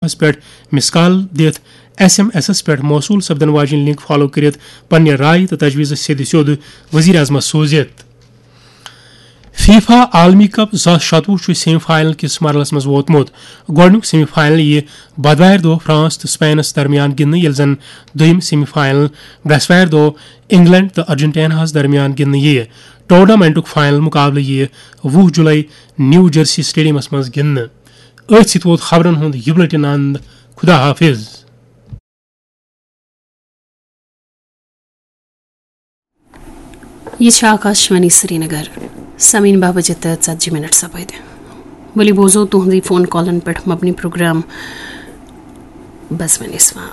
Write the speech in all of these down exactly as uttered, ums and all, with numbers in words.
نمبرس پٮ۪ٹھ مس کال دِتھ ایس ایم ایسس پٮ۪ٹھ موصول سپدن واجیٚنۍ لنک فالو کٔرِتھ پننہِ رائے تہٕ تجویز سیٚدِ سیوٚد وزیر اعظمس سوٗزِتھ۔ فیفا عالمی کپ زٕ ساس شتوُہ چھُ سیمی فائنل کِس مرحلس منٛز ووتمُت۔ گۄڈٕنیُک سیمی فائنل یِیہِ بدوارِ دۄہ فرانس تہٕ سپینس درمیان گِنٛدنہٕ، ییٚلہِ زن دوٚیِم سیمی فائنل برٛٮ۪سوارِ دۄہ انگلینڈ تہٕ ارجنٹیناہس درمیان گِنٛدنہٕ یِیہِ۔ ٹورنامنٹُک فائنل مقابلہٕ یِیہِ وُہ جولائی نیو جرسی سٹیڈیمس منٛز گِنٛدنہٕ۔ أتھۍ سۭتۍ ووت خبرن ہُنٛد یہِ بُلٹن اند۔ خدا حافظ۔ یہِ چھِ آکاشوانی سرینگر۔ سمعین، باہ بجے تہٕ ژتجی منٹ سپدۍ۔ ؤلِو بوزو تُہنٛدٕے فون کالن پٮ۪ٹھ مبنی پروگرام بزمِ نسواں۔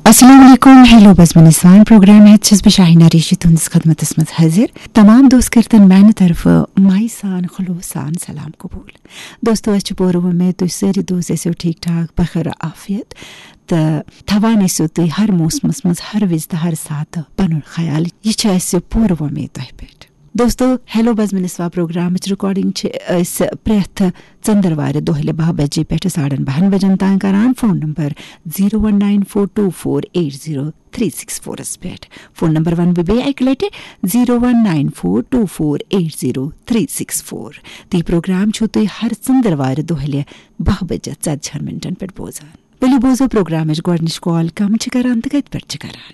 السلام علیکم، ہیلو بزمِ نسواں پروگرام ہیٚتھ چھَس بہٕ شاہینہ ریشی تُہنٛدِس خدمتس منٛز حٲضِر۔ تمام دوست کٔرتن میانہِ طرفہٕ مایہِ سان، خلوص سان سلام قبول۔ دوستو، اسہِ چھِ پوٗرٕ وۄمید تُہۍ سٲری دوست ٲسِو ٹھیٖک ٹھاک، بخیر عافیت تہٕ تھاوان ٲسِو تُہۍ ہر موسمس منٛز، ہر وِزِ تہٕ ہر ساتہٕ پنُن خیال۔ یہِ چھِ اسہِ پوٗرٕ وۄمید تۄہہِ پٮ۪ٹھ۔ دوستو، ہیلو بزمِ نسواں پروگرامٕچ ریکارڈنگ چھِ أسۍ پرٛٮ۪تھ ژٔندٕروارِ دۄہلہِ باہ بجے پٮ۪ٹھٕ ساڑن باہن بجن تام کران۔ Phone number zero one nine four two four eight zero three six فورس پٮ۪ٹھ۔ فون نمبر ونہٕ بہٕ بیٚیہِ اکہِ لٹہِ، zero one nine four two four eight zero three six four. تہٕ یہِ پروگرام چھِو تُہۍ ہر ژٔندٕروارِ دۄہلہِ باہ بجے ژتجی ہن منٹن پٮ۪ٹھ بوزان۔ ؤلِو بوزو پروگرامٕچ گۄڈٕنِچ کال کم چھِ کران تہٕ کتہِ پٮ۪ٹھ چھِ کران۔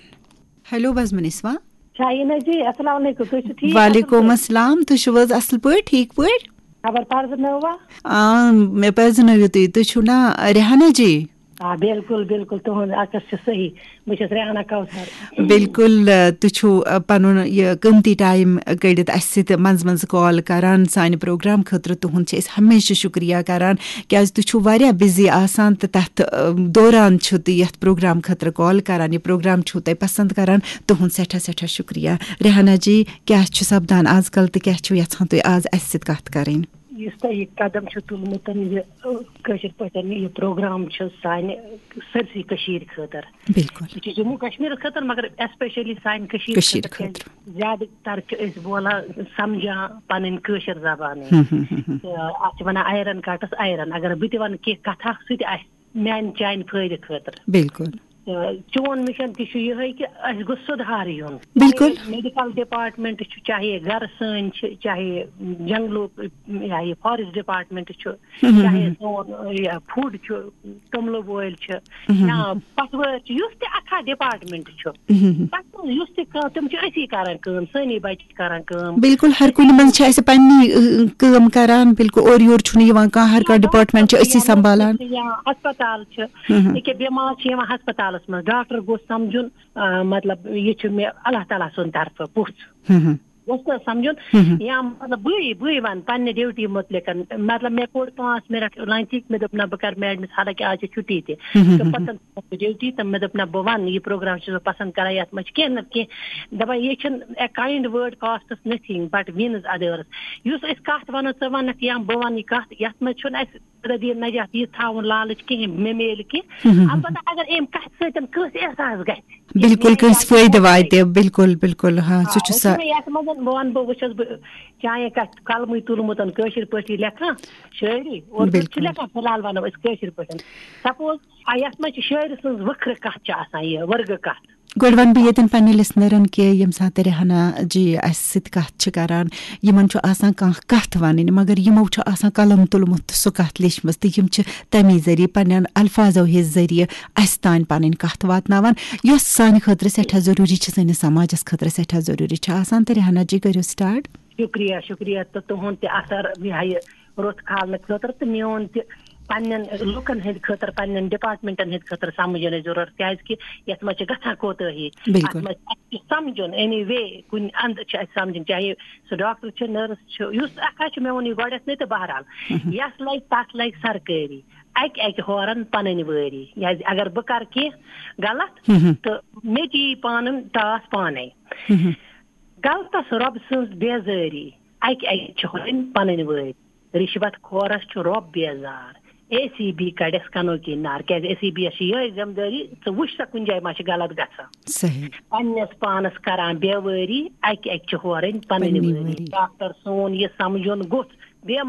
ہیلو بزمِ نسواں۔ شاہینہ جی، السلام علیکم، تُہۍ چھِو ٹھیٖک؟ وعلیکم السلام، تُہۍ چھِو حظ اصل پٲٹھۍ، ٹھیٖک پٲٹھۍ؟ خبر پرزٕنٲوا؟ آ، مےٚ پرزٕنٲوِو تُہۍ، تُہۍ چھِو نا ریحانہ جی؟ آ، بِلکُل، بِلکُل، تُہُنٛد عکس چھُ صحیح۔ بہٕ چھَس ریحانہ کوثر۔ بِلکُل، آ، تُہۍ چھِو، آ، پَنُن یہِ قۭمتی ٹایم کٔڑِتھ اَسہِ سۭتۍ منٛزٕ منٛزٕ کال کران، سانہِ پروگرام خٲطرٕ تُہُنٛد چھِ أسۍ ہمیشہِ شُکریہ کران، کیازِ تُہۍ چھِو واریاہ بِزی آسان تہٕ تَتھ، آ، دوران چھِو تُہۍ یَتھ پروگرام خٲطرٕ کال کران، یہِ پروگرام چھِو تُہۍ پسنٛد کران، تُہُنٛد سٮ۪ٹھاہ سٮ۪ٹھاہ شُکریہ۔ ریحانہ جی، کیٛاہ چھُ سپدان آز کل تہٕ کیٛاہ چھِو یژھان تُہۍ آز اَسہِ سۭتۍ کَتھ کَرٕنۍ؟ یُس تۄہہِ یہِ قدم چھُ تُلمُت، یہِ، ٲ، کٲشِر پٲٹھۍ یہِ پروگرام چھُ سانہِ سٲرسٕے کٔشیٖرِ خٲطرٕ۔ بِلکُل۔ یہِ چھُ جموں کشمیٖرَس خٲطرٕ، مگر especially سانہِ کٔشیٖرِ کٔشیٖرِ خٲطرٕ، کیٛازِ خٲطرٕ۔ زیادٕ تر چھِ أسۍ بولان، سمجھان پنٕنۍ کٲشِر زبانٕے۔ ہم، ہم، ہم، ہم۔ تہٕ اَتھ چھِ وَنان iron cuts iron۔ اگر بہٕ تہِ وَنہٕ کینٛہہ کَتھا، سُہ تہِ آسہِ میٛانہِ چانہِ فٲیدٕ خٲطرٕ۔ بِلکُل۔ تہٕ چون مِشن تہِ چھُ یِہوٚے کہِ اَسہِ گوٚژھ سُدھار یُن۔ بِلکُل۔ چاہے میڈیکل ڈپارٹمنٹ چھُ، چاہے گرٕ سٲنۍ چھِ، چاہے جنگلُک، یا یہِ فارسٹ ڈپارٹمنٹ چھُ، ہم، ہم، چاہے ہم۔ سون، یہِ، فوڈ چھُ، توٚملہٕ بٲلۍ چھِ، ہم، ہم، یا ہم۔ پٹھوٲرۍ چھِ، یُس تہِ اَتھا ڈپارٹمنٹ چھُ، ہم، ہم، ہم۔ تَتھ منٛز یُس تہِ کانٛہہ، تِم چھِ أسی کران کٲم، سٲنی بچہِ چھِ کران کٲم۔ بِلکُل، ہر کُنہِ منٛز چھِ اَسہِ پننی، ٲ، کٲم کران، بِلکُل، اورٕ یورٕ چھُنہٕ یِوان کانٛہہ، ہر کانٛہہ یا ڈپارٹمنٹ چھِ ڈاکٹر أسی یا نرس سنبھالان۔ چھِ یا ہسپتال چھِ، ہم، ہم۔ ییٚکیٛاہ بٮ۪مار چھِ یِوان ہسپتالس منٛز، ڈاکٹر گوٚژھ سمجھُن، آ، مطلب، یہِ چھُ مےٚ اللہ تعالیٰ سُنٛد طرفہٕ پُژھ۔ ہم، ہم۔ گوٚژھ نہٕ سمجھُن، ہم، ہم۔ یا مطلب، بٕے، بٕے ونہٕ پننہِ ڈیوٹی مُتعلِق، مطلب، مےٚ کوٚڑ پانٛژھ منٹ لنچٕکۍ، مےٚ دوٚپ، نہ، بہٕ کرٕ میڈمس، حالانکہِ آز چھِ چھُٹی تہِ۔ ہم، ہم، تہٕ ہم۔ پتہٕ ڈیوٹی تہٕ مےٚ دوٚپ، نہ، بہٕ وَنہٕ، یہِ پروگرام چھُس بہٕ پسنٛد کران، یَتھ منٛز چھِ کینٛہہ نَتہٕ کینٛہہ دَپان، یہِ چھِنہٕ a kind word costs nothing but wins others۔ یُس أسۍ کَتھ وَنو، ژٕ وَنَکھ یا بہٕ وَنہٕ یہِ کَتھ، یَتھ منٛز چھُنہٕ اَسہِ زندگی نجات یہِ تھاوُن لالٕچ کِہیٖنۍ، مےٚ میلہِ کینٛہہ۔ ہم، ہم، ہم۔ البتہ اگر اَمہِ کَتھِ سۭتۍ کٲنٛسہِ احساس گژھِ، بِلکُل، میٛانہِ کٲنٛسہِ جایہِ فٲیدٕ چھُ واتہِ، بِلکُل، بِلکُل، ہاں، آ، سُہ چھُ وۄنۍ چھُ سا- مےٚ یَتھ منٛز بہٕ وَنہٕ بہٕ، وۄنۍ چھَس بہٕ چانہِ کَتھِ قلمٕے تُلمُت کٲشِر پٲٹھی لیکھان شٲعری، اردو چھِ بِلکُل۔ لیکھان، فی الحال وَنو أسۍ کٲشِر پٲٹھۍ۔ سپوز، آ، یَتھ منٛز چھِ شٲعرٕ سٕنٛز ؤکھرٕ کَتھ چھِ آسان، یہِ ؤرگہٕ کَتھ۔ گۄڈٕ وَنہٕ بہٕ ییٚتٮ۪ن پننہِ لسنرن کہِ ییٚمہِ ساتہٕ ریحانہ جی اَسہِ سۭتۍ کَتھ چھِ کران، یِمن چھُ آسان کانٛہہ کَتھ وَنٕنۍ، مگر یِمو چھُ آسان قلم تُلمُت تہٕ سُہ کَتھ لیچھمٕژ، تہٕ یِم چھِ تَمی ذٔریعہٕ، پننٮ۪ن الفاظو ہِس ذٔریعہٕ اَسہِ تانۍ پنٕنۍ کَتھ واتناوان، یۄس سانہِ خٲطرٕ سٮ۪ٹھاہ ضروٗری چھِ، سٲنِس سماجس خٲطرٕ سٮ۪ٹھاہ ضروٗری چھِ آسان۔ تہٕ ریحانہ جی، کٔرِو سٹارٹ۔ شُکریہ، شُکریہ، تہٕ تُہُنٛد تہِ اثر یہِ ہا یہِ رُت کھالنہٕ خٲطرٕ تہٕ میون تہِ پننٮ۪ن لُکن ہٕنٛدِ خٲطرٕ، پننٮ۪ن ڈپارٹمنٹن ہٕنٛدِ خٲطرٕ سمجھنٕچ ضروٗرت، کیازِ کہِ یتھ منٛز چھِ گژھان کوتٲہی۔ بِلکُل۔ اتھ منٛز چھِ اَسہِ تہِ سمجھُن، any way، کُنہِ اندٕ چھِ اَسہِ سمجھُن، چاہے سُہ ڈاکٹر چھُ، نٔرس چھُ، یُس اکھ حظ چھُ، مےٚ ووٚن یہِ گۄڈنٮ۪تھ نہٕ، تہٕ بہرحال، ہم۔ یَس لگہِ تَتھ لگہِ سرکٲری، اَکہِ اَکہِ ہورن پنٕنۍ وٲری، کیازِ اگر بہٕ کرٕ کینٛہہ غلط، ہم۔ تہٕ مےٚ تہِ یی پانہٕ ٹاس پانے۔ ہم۔ غلطس رۄب سٕنٛز بیزٲری، اَکہِ اَکہِ چھِ ہورن پنٕنۍ وٲرۍ۔ رِشوت خورس چھُ رۄب بیزار۔ اے سی بی کڑٮ۪س کنو کی نار، کیازِ اے سی بی یس چھِ یِہے ذمہٕ دٲری، ژٕ وٕچھ سا کُنہِ جایہِ ما چھِ غلط گژھان۔ صحیح۔ پننِس پانس کران بے وٲری، اکہِ اکہِ چھِ ہورٕنۍ پنٕنۍ پنٕنۍ وٲری۔ وٲری۔ ڈاکٹر سون یہِ سمجھُن گوٚژھ، بیٚیہِ